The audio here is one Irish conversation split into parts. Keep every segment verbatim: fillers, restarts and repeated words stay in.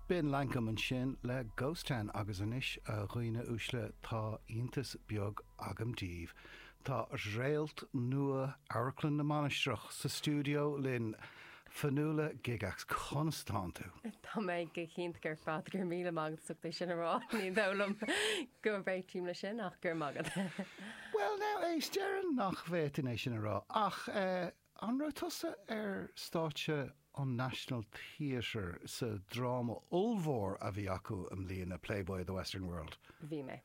B'in Lankum ansin le Ghost Town agus anois a dhaoine uaisle tá iontas beag agam daoibh. Tá réalt nua Amharclann na Mainistreach sa stiúideo linn Fionnuala Gygax conas tánn tú. Tá mé go hiontach ar fad gur míle maith agat é sin a rá ní dóigh liom go réitím le sin ach gur magad. Well now éist déarfainn nach bhféadfainn é sin a rá ach eh, an raibh tusa ar stáitse an National Theatre sa dráma ollmhór a bhí acu i mbliana Playboy of the Western World. Bhí mé.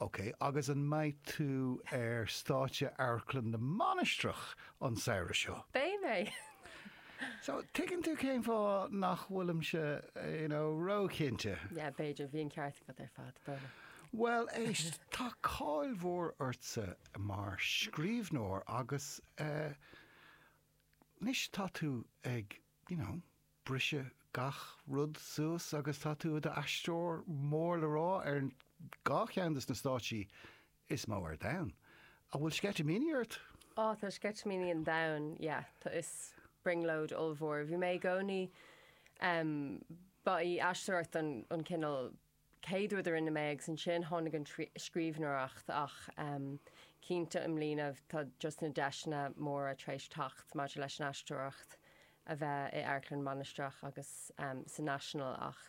Ok, agus an mbeidh tú ar stáitse Amharclann na Mainistreach an samhradh seo. Beidh mé. So tuigeann tú cén fáth nach bhfuilimse you know, róchinnte. Ja, b'fhéidir bhí an ceart agat ar fad brona. Well éist tá cáil mhór ortsa mar scríbhneoir agus uh, anois tá tú ag you know, briseadh gach rud suas agus tá tú i d'aisteoir mór le rá ar dhá cheann de na stáitsí is mó ar domhan. An bhfuil sceitimíní ort? Á tá sceitimíní an domhain, yeah, tá is brionglóid ollmhór. Bhí mé i gcónaí um, ba í aisteoireacht an, an cineál céad rud a rinne mé agus ansin tháinig an scríbhneoireacht ach um, cinnte i mbliana tá just na deiseanna móra tar éis teacht maidir leis an aisteoireacht a bheith i Amharclann Mainistreach agus um, sa National ach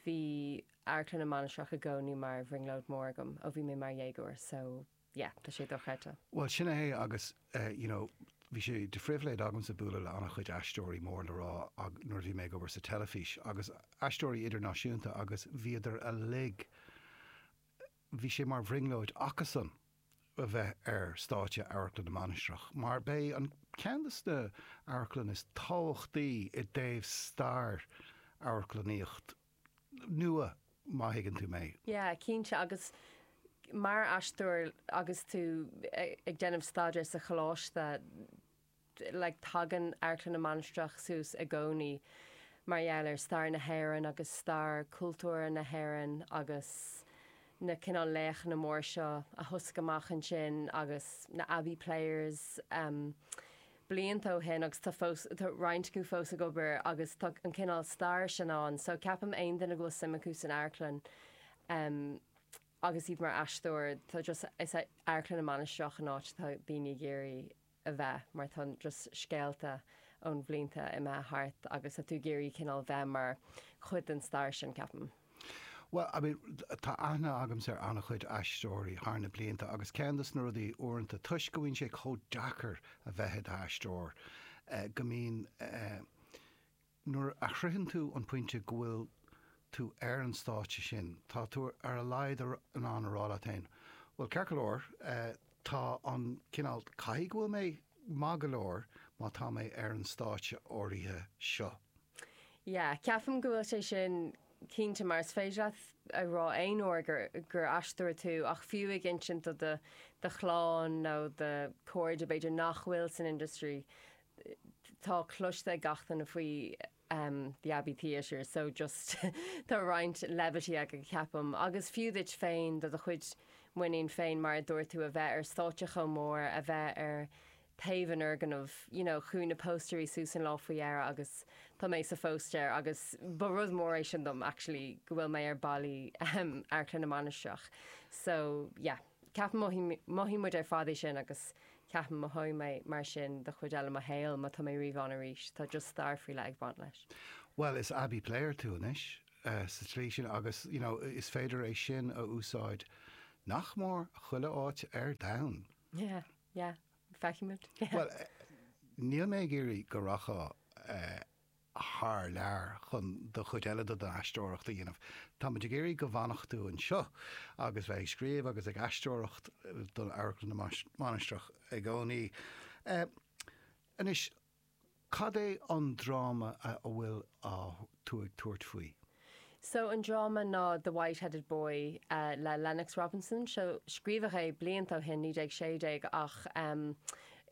bhí Amharclann na Mainistreach i gcónaí mar bhrionglóid mór agam ó bhí mé mar dhéagóir, so yeah, tá sé dochreidte. Well sin é agus uh, you know, bhí sé de phribhléid agamsa bualadh le an-chuid aisteoirí mór le rá nuair bhí mé ag obair sa teilifís agus aisteoirí idirnáisiúnta agus bhíodar uilig bhí sé mar bhrionglóid acusan a bheith ar stáitse Amharclann na Mainistreach, mar b'é an ceann de na hamharclanna is tábhachtaí i dtaobh stair amharclannaíocht nua má thuigeann tú mé. Yeah, cinnte agus mar aisteoir agus tú ag déanamh staidéar sa choláiste like, tagann Amharclann na Mainistreach suas i gcónaí mar gheall ar stair na hÉireann agus stair cultúr na hÉireann agus na cineál laochanna mór seo a thosaigh amach ansin agus na Abbey Players um, blianta ó shin agus tá fós tá roinnt acu fós ag obair agus tá an cineál stair sin ann, so ceapaim aon duine go bhfuil suim acu san amharclann um, agus iad mar aisteoir tá just is Amharclann na Mainistreach an áit tá daoine ag iarraidh a bheith mar tá just scéalta ón bhlianta imithe thart agus tá tú ag iarraidh cineál bheith mar chuid den stair sin ceapaim. Well, I mean, tá aithne agamsa ar an-chuid aisteoirí thar na blianta agus ceann de na rudaí uaireanta toisc go bhfuil sé chomh deacair a bheith i d'aisteoir eh, go mbíonn eh, nuair a shroicheann tú an pointe go bhfuil tú ar an stáitse sin, tá tú ar a laghad in ann a rá leat féin. Well ceart go leor eh, tá an cineál caithfidh go bhfuil mé maith go leor má tá mé ar an stáitse áirithe seo. Yeah, ceapaim go bhfuil sé sin cinnte mar is féidir leat a rá aon uair gur, gur aisteoir tú ach fiú ag insint do do do chlann nó do chairde b'fhéidir nach bhfuil san industry tá cloiste ag gach duine faoi um, the Abbey Theatre, so just tá roinnt levity ag ceapaim agus fiú duit féin do do chuid muinín féin mar a dúirt tú a bheith ar stáitse chomh mór a bheith ar taobh an fhoirgnimh, you know, chuaigh na póstaerí suas an lá faoi dheireadh agus tá mé sa phóstaer agus ba rud mór é sin dom actually go bhfuil mé ar ballaí um, Amharclann na Mainistreach. So yeah, ceapaim mothaíonn muid ar fad é sin agus ceapaim mothóidh mé mar sin do chuid eile mo shaol má tá mé riamh ann arís, tá just stair faoi leith ag baint leis. Well, is Abbey Player tú anois uh, sa tslí sin agus you know, is féidir é sin a úsáid nach mór chuile áit ar domhan. Yeah, yeah. Feicfimid. Yeah. Well, eh, níl mé ag iarraidh go rachfá uh, thar lear chun do chuid eile do aisteoireacht a dhéanamh. Tá muid ag iarraidh go bhfanfadh tú anseo agus bheith ag scríobh agus ag aisteoireacht don Amharclann na Mainistreach i gcónaí. Uh, anois cad é an dráma a bhfuil tú ag tabhairt faoi? So an dráma ná The White-Headed Boy uh, le Lennox Robinson, so scríobhadh é blianta ó shin naoi déag sé déag ach um,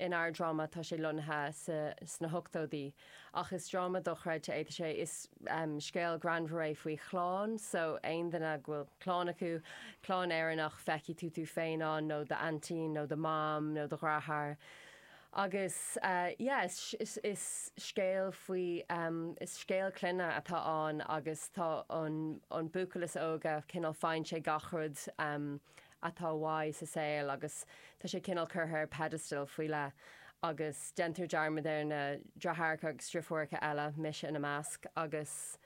inár dráma tá sé lonnaithe sna hochtóidí. Ach is dráma dochreidte é sé is um, scéal greannmhar é faoi chlann, so aon duine go bhfuil clann acu, clann Éireannach feicfidh tú tú féin ann nó d'aintín nó do mham nó do dheartháir. Agus uh, yeah, is, is, is scéal faoi um, is scéal clainne atá ann agus tá an, an buachaill is óige cineál faigheann sé gach rud um, atá uaidh sa saol agus tá sé cineál curtha ar pedestal faoi leith agus déantar dearmad ar na deartháireacha agus deirfiúracha eile mise ina measc agus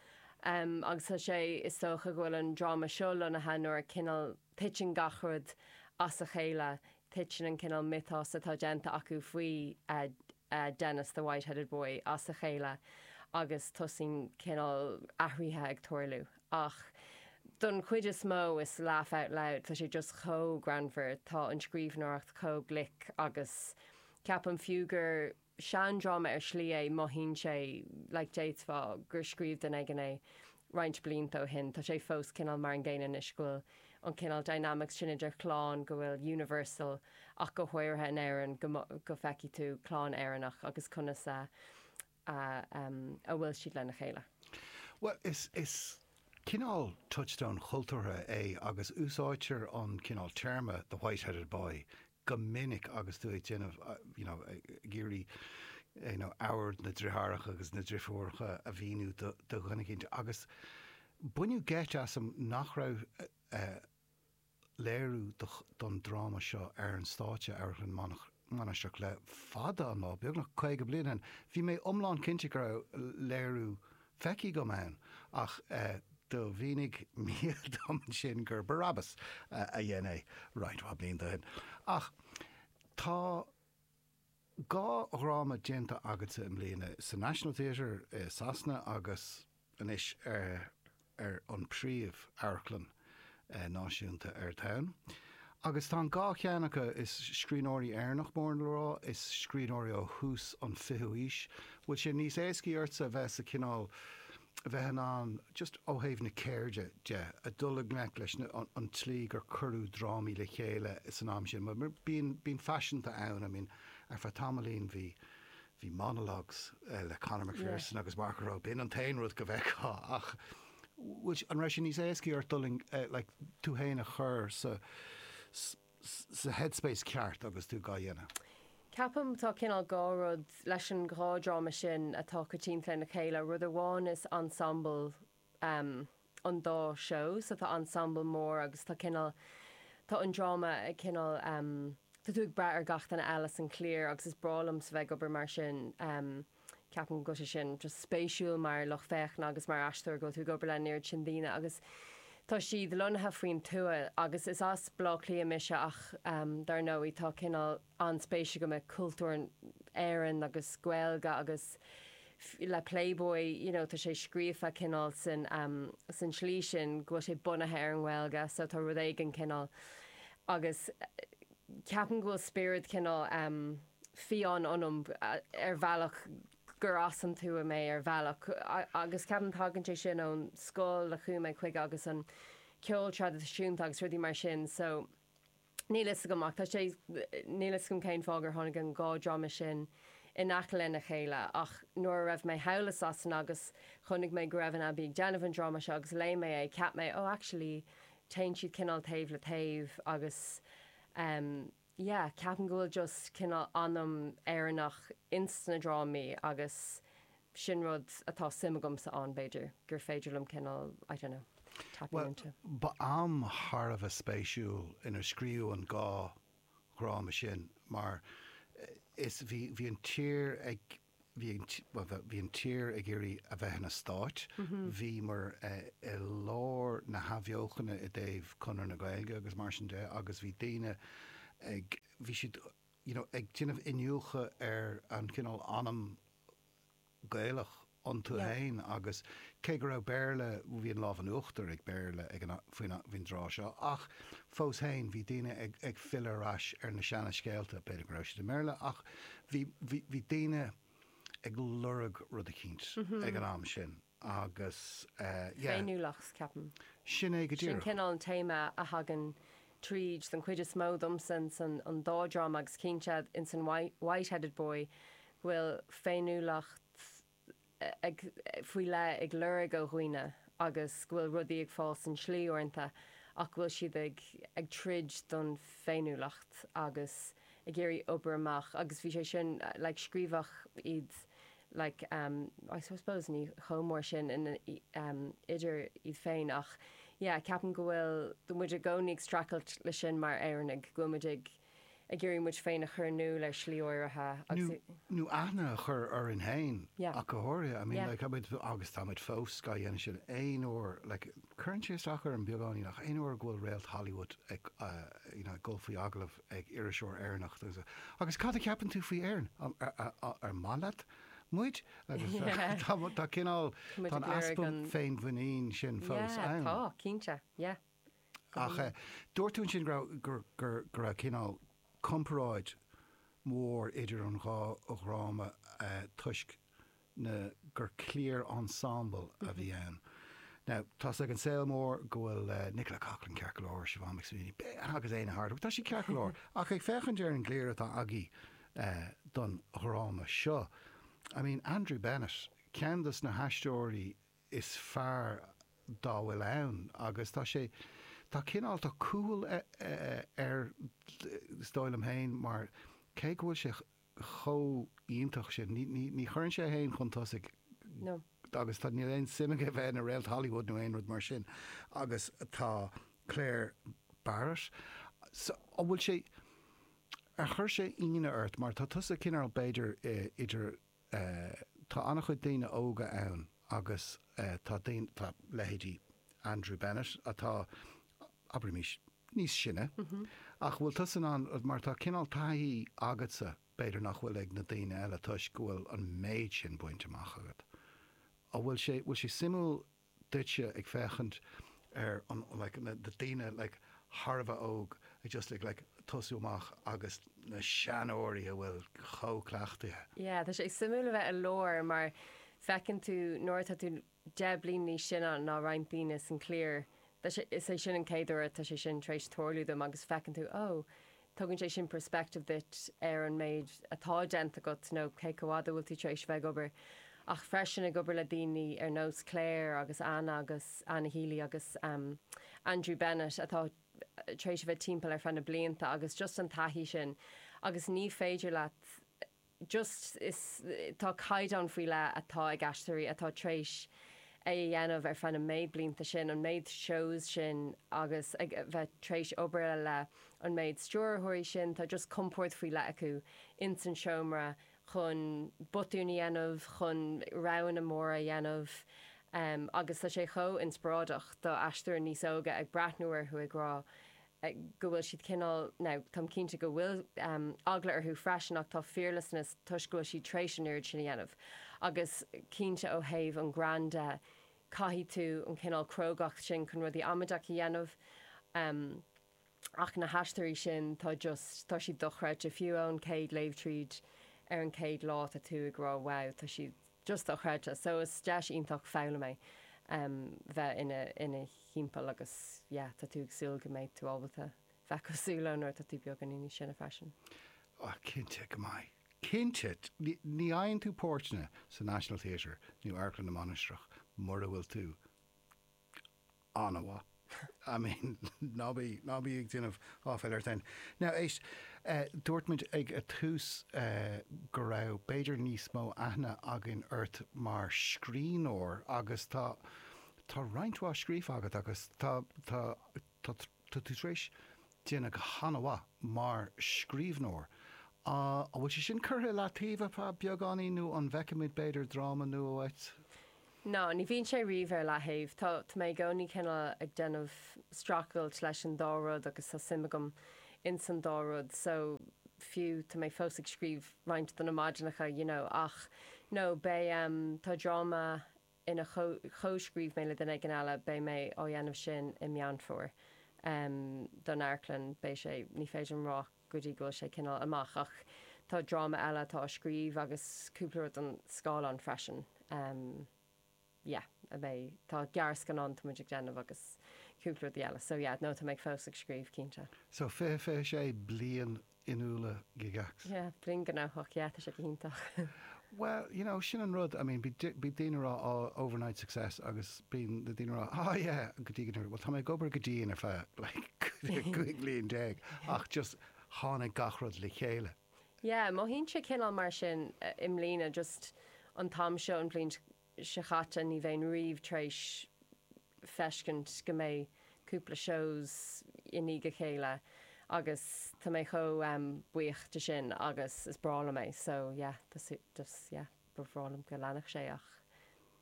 um, agus tá sé is dócha go bhfuil an dráma seo lonnaithe nuair cineál titeann gach rud as a chéile titeann an cineál mythos atá déanta acu faoi uh, uh, Dennis the White-headed Boy as a chéile agus tosaíonn cineál athruithe ag tarlú. Ach don chuid is mó is laugh out loud, tá sé just chomh greannmhar tá an scríbhneoireacht chomh glic agus ceapaim fiú gur seandráma ar shlí é mothaíonn sé like d'fhéadfá gur scríobh duine éigin é roinnt blianta ó shin, tá sé fós cineál mar an gcéanna anois go bhfuil an cineál dynamics sin idir clann go bhfuil universal ach go háirithe in Éirinn go, go bhfeicfidh tú clann Éireannach agus conas a, a, um, a bhfuil siad lena chéile. Well, is, is cineál touchstone cultúrtha é agus úsáidtear an cineál téarma the white-headed boy go minic agus tú ag déanamh you know, ag iarraidh you know, amhad na deartháireacha agus na deirfiúracha a mhíniú do dhuine éicint agus baineadh geit asam nach raibh uh, léiriú don dráma seo ar an stáitse ar an Mainistreach le fada an lá beagnach caoga bliain. Bhí mé iomlán cinnte go raibh léiriú feicthe agam ann ach uh, do mhínigh mé dom sin gur Barabbas uh, a dhein é roinnt mhaith blianta ó shin. Ach tá dhá dhráma déanta agatsa i mbliana sa National Theatre i Sasana agus anois ar, ar an príomh amharclann eh, náisiúnta ar domhan. Agus tá dhá cheann acu is scríbhneoirí Éireannach mór le rá is scríbhneoirí ó thús an fichiú haois, Bhfuil sé níos éasca ortsa bheith sa cineál bheith in ann just ó thaobh na ceirde de a dul i ngleic leis an, an tslí gur cuireadh drámaí le chéile san am sin, mar bíonn bíonn faiseanta ann, I mean, ar feadh tamaillín bhí bhí monologues uh, le Conor McPherson yeah. agus Mark Roe b'in an t-aon rud go bhfeicfeá ach an raibh sé níos éasca ort dul uh, like, tú féin a chur sa sa headspace ceart agus tú á dhéanamh. Ceapaim tá cineál dhá rud leis an dhá dráma sin atá coitianta lena chéile, rud amháin is ensemble um, an dá show, so tá ensemble mór agus tá cineál tá an dráma ag cineál um, tá tú ag brath ar gach duine eile san cliar agus is breá liom sa bheith ag obair mar sin um, ceapaim go sé sin just spéisiúil mar lucht féachana agus mar aisteoir go tú ag obair le an oiread sin daoine agus tá siad lonnaithe faoin tuath agus is as Baile Átha Cliath mise ach um, dar ndóigh tá cineál an-spéis agam i cultúr Éireann agus Gaeilge agus le Playboy you know, tá sé scríofa cineál san um, san slí sin go bhfuil sé bunaithe ar an nGaeilge, so tá rud éigin cineál agus ceapaim go bhfuil spiorad cineál um, fiáin ionam ar bhealach gur as an tuath mé ar bhealach agus ceapaim tagann sé sin ón scoil a chuaigh mé chuige agus an ceol traidisiúnta agus rudaí mar sin so níl a fhios agam ach tá sé níl a fhios agam cén fáth gur tháinig an dhá dráma sin in aice lena chéile ach nuair a raibh mé thall i Sasana agus chonaic mé go raibh an Abbey ag déanamh an dráma seo agus léigh mé é ceap mé ó oh, actually téann siad cineál taobh le taobh agus um, yeah, ceapaim go bhfuil just cineál anam Éireannach ins na drámaí agus sin rud atá suim agamsa ann b'fhéidir gur féidir liom cineál I don't know, tapping well, into. Ba am thar a bheith spéisiúil inar scríobhadh an dhá dhráma sin mar eh, is bhí bhí an tír ag bhí bhí an tír ag iarraidh a bheith ina stát, mhm. bhí mar eh, i lár na hathbheochana i dtaobh Conradh na Gaeilge agus mar sin de agus bhí daoine ag bhí siad you know, ag déanamh iniúchadh ar an cineál anam Gaelach iontu féin agus cé go raibh Béarla bhí an lámh in uachtar ag Béarla ag an faoin faoin dtráth seo ach fós féin bhí daoine ag, ag filleadh ar ais ar na seana scéalta b'fhéidir go raibh siad i mBéarla ach bhí, bhí, bhí daoine ag lorg rud eicínt mm -hmm. ag an am sin agus uh, yeah. Féiniúlacht ceapaim. Sin é go Sin díreach. cineál an téama a thagann tríd den chuid is mó domsa san an dá dráma agus cinnte in san White-headed Boy go bhfuil féiniúlacht ag faoi leith ag lorg ó dhaoine agus go bhfuil rudaí ag fáil san slí uaireanta ach go bhfuil siad ag ag troid don féiniúlacht agus ag iarraidh obair amach agus bhí sé sin like scríobhadh iad like um, I suppose ní chomh mór sin in um, idir iad féin ach yeah, ceapaim go bhfuil do muid i gcónaí ag streachailt le sin mar Éireannaigh go muid ag ag iarraidh muid féin a chur in iúl ar shlí áirithe agus nó aithne a chur orainn féin Yeah. ach go háirithe I mean, Yeah. like, táimid agus táimid fós ga dhéanamh sin aon uair like, cuireann sé isteach orm beagáinín ach aon uair go bhfuil réalt Hollywood ag uh, you know, dul faoi agallamh ag iriseoir Éireannach agus agus cad a cheapann tú faoi Éirinn ar, ar, ar, ar maith leat muid agus Yeah. tá tá cineál Muid tá ag lorg easpa an- féinmhuinín sin fós yeah, ann. tá cinnte yeah. Ach eh, dúirt tú sin go gur gur go raibh cineál comparáid mór idir an dhá dhráma eh, toisc na gur cliar ensemble a bhí ann. Now, tá ag an saol mór go bhfuil uh, Nicola Coughlan ceart go leor Siobhán McSweeney agus Éanna Hardwicke, tá sí ceart go leor ach ag féachaint ar an gcliar atá agaibh uh, don dhráma seo. I mean, Andrew Bennett, ceann de na haisteoirí is fearr dá bhfuil ann agus tá sé tá cineál tá cúl ar is dóigh liom féin mar cé go bhfuil sé chomh iontach sin ní, ní, ní chuireann sé féin chun tosaigh No. agus tá níl aon suim aige bheith ina réalt Hollywood nó aon rud mar sin agus tá Claire Barrett so, an bhfuil sé ar chuir sé ionadh ort mar tá tusa cineál b'fhéidir eh, idir eh, tá an-chuid daoine óga ann agus eh, tá daoine tá leithéidí Andrew Bennett atá abraimis níos sine ach bhfuil tusa an mar tá cineál taithí agatsa b'fhéidir nach bhfuil ag na daoine eile toisc go bhfuil an méid sin bainte amach agat. An bhfuil sé bhfuil sé suimiúil duitse ag féachaint ar an like, na, na daoine like, thar a bheith óg ag just like, like, tosú amach agus na seanóirí a bhfuil chomh cleachtaithe. Yeah, tá sé suimiúil a bheith i lár mar feiceann tú nuair atá tú deich bliain níos sine ná roinnt daoine san cliar. Tá sé- Is é sin an chéad uair tá sé sin tar éis tarlú dom agus feiceann tú ó tugann sé sin perspective duit ar an méid atá déanta agat nó cé chomh fada bhfuil tú tar éis bheith ag obair. Ach freisin ag obair le daoine ar nós Claire agus Anna agus Anna Healy agus um, Andrew Bennett atá tar éis bheith timpeall ar feadh na blianta agus just an taithí sin agus ní féidir leat just is tá caighdeán faoi leith atá ag aisteoirí atá tar éis é a dhéanamh ar feadh na méid blianta sin an méid shows sin agus ag bheith tar éis obair le an méid stiúrthóirí sin tá just compord faoi leith acu in san seomra chun botúin a dhéanamh chun roghanna móra a dhéanamh um, agus tá sé chomh inspioráideach do aisteoir níos óga ag breathnú orthu ag rá eh, go bhfuil siad cineál now táim cinnte go bhfuil um, eagla orthu freisin ach tá fearlessness toisc go bhfuil siad tar éis an oiread sin a dhéanamh. Agus cinnte ó thaobh an greann de caithfidh tú an cineál crógacht sin chun rudaí amaideach a dhéanamh. Um, ach na haisteoirí sin tá just tá siad dochreidte fiú ón céad léamh tríd ar an céad lá tá tú ag rá wow tá siad just dochreidte. So is deis iontach foghlaim é um, bheith ina ina thimpeall agus yeah, tá tú ag súil go mbeidh tú ábalta bheith cosúil leo nuair tá tú beagán níos sine freisin. Oh, cinnte go maith. Cinnte ní ní fhaigheann tú páirteanna sa National Theatre nó Amharclann na Mainistreach mura bhfuil tú an-mhaith. I mean, ná bí ná bí ag déanamh áiféil ort féin. Now éist, uh, dúirt muid ag a tús uh, go raibh b'fhéidir níos mó aithne againn ort mar scríbhneoir agus tá tá roinnt mhaith scríofa agat agus tá tá tá tá tú tar éis déanamh go han-mhaith mar scríbhneoir. Uh, an bhfuil sé sin curtha le taobh ar beagáinín nó an bhfeicfimid b'fhéidir dráma nua uait? No, ní bhíonn sé riamh ar leathaobh Tá tá mé i gcónaí cineál ag déanamh streachailt leis an dá rud agus tá suim agam in san dá rud, so fiú tá mé fós ag scríobh roinnt de na maidineacha, you know, ach no beidh um, tá dráma ina chomhscríobh mé le duine éigin eile beidh mé á dhéanamh sin i Meán Fómhair. Um, don amharclann beidh sé ní féidir liom rá go dtí go bhfuil sé cineál amach ach tá dráma eile atá á scríobh agus cúpla rud an scáileán freisin. Um, yeah, a mbeidh tá gearrscannán tá muid ag déanamh agus cúpla rud eile. So yeah, no tá mé fós ag scríobh cinnte. So fiche fiche sé bliain Fionnuala Gygax. Yeah, bliain gnóthach, yeah, tá sé go hiontach. Well, you know, sin an rud, I mean, bí bí daoine rá oh, overnight success agus bíonn na daoine rá oh yeah, go dtí go well tá mé ag obair go dian ar feadh like cúig bliain déag ach just tháinig gach rud le chéile. Yeah, mothaíonn sé cineál mar sin i mbliana just an t-am seo an bhliain seo chaite ní bheinn riamh tar éis feiscint go mbeidh cúpla shows i ndiaidh a chéile agus tá mé chomh um, buíoch de sin agus is breá liom é so yeah, just yeah, ba bhreá liom go leanfadh sé ach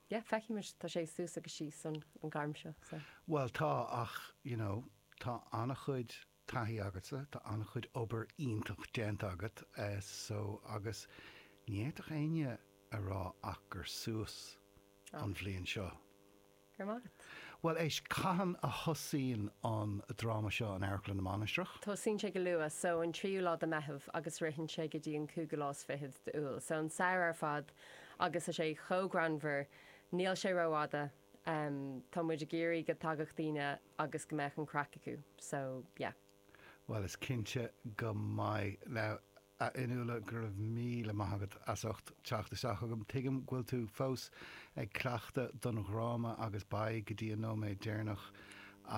yeah, feicfimid tá sé suas agus síos an, an gairm seo. So. Well tá ach you know, tá an-chuid taithí agatsa, tá an-chuid obair iontach déanta agat uh, so agus ní fhéadfadh éinne a rá ach gur suas an bhliain seo. Go raibh maith agat. Well éist cathain a thosaíonn an dráma seo in Amharclann na Mainistreach? Tosaíonn sé go luath so an tríú lá de Mheitheamh agus ritheann sé go dtí an cúigiú lá is fichead d'Iúil. So an samhradh ar fad agus tá sé chomh greannmhar, níl sé rófhada, um, tá muid ag iarraidh go dtagadh daoine agus go mbeadh an craic acu. So yeah. Well is cinnte go mbeidh now a Fhionnuala go raibh míle maith agat as ucht teacht isteach agam. Tuigim go bhfuil tú fós ag cleachtadh don dhráma agus beidh go dtí an nóiméad deireanach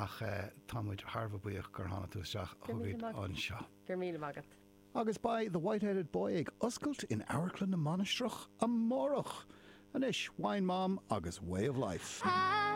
ach uh, tá muid thar a bheith buíoch gur tháinig tú isteach chugainn anseo. Gur míle maith agat. Agus beidh The White-Headed Boy ag oscailt in Amharclann na Mainistreach amárach. Anois Wine Mom agus Way of Life. I